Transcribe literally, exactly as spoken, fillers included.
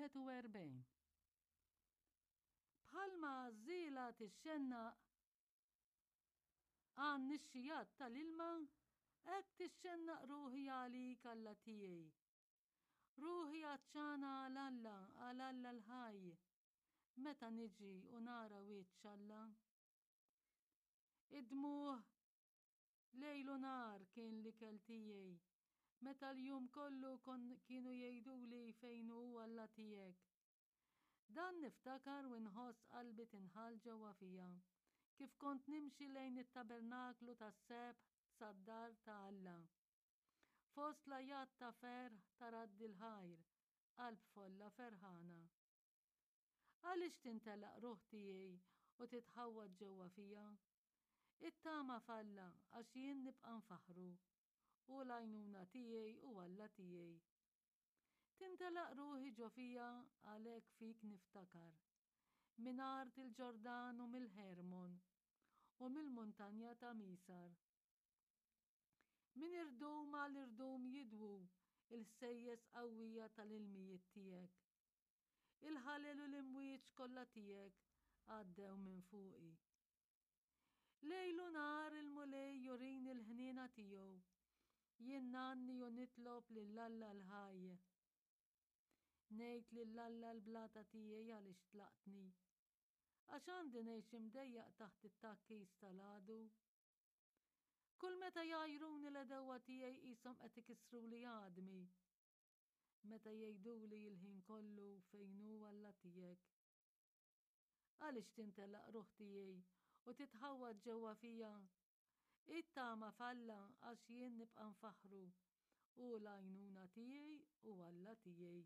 Wieħed u erbgħin. Bħalma għażżiela tixxennaq għan-nixxijat tal-ilma, hekk tixxennaq ruħi għalik Alla tiegħi. Ruħi għatxana għal Alla, għal Alla l-ħaj. Meta niġi u nara wiċċ Alla? Id-dmugħ lejl u nhar kien l-ikel tiegħi, meta l-jum kollu kon kienu jgħiduli fejn hu Alla tiegħek. Dan niftakar u nħoss qalbi tinħall ġewwa fija, kif kont nimxi lejn it-tabernaklu tas-sebħ sad-dar ta' Alla. Fost l-għajat ta' ferħ ta' radd il-ħajr, qalb folla ferħana. Għaliex tintelaq ruħ tiegħi u titħawwad ġewwa fija? Ittama f'Alla għax jien nibqa' nfaħħru. Hu l-għajnuna tiegħi u Alla tiegħi. Tintelaq ruħi ġo fija għalhekk fik niftakar. Minn art il-Ġordan u mill-Ħermon u mill-muntanja ta' Misar. Minn irdum għal irdum jidwu il-ħsejjes qawwija tal-ilmijiet tiegħek. Il-ħalel u l-imwieġ kollha tiegħek għaddew minn fuqi. Lejl u nhar il-Mulej jurini l-ħniena tiegħu. Jien ngħanni u nitlob lil Alla l-ħaj. Ngħid lil Alla l-blata tiegħi għaliex tlaqtni. Għax għandi ngħix imdejjaq taħt it-tgħakkis tal-għadu. Kull meta jgħajruni l-għedewwa tiegħi qishom qed ikissruli għadmi. Meta jgħiduli l-ħin kollu fejn hu Alla tiegħek. Għaliex tintelaq ruħ tiegħi u titħawwad ġewwa fija? Ittama f'Alla għax jien nibqa' nfaħħru. Hu l-għajnuna tiegħi u Alla tiegħi.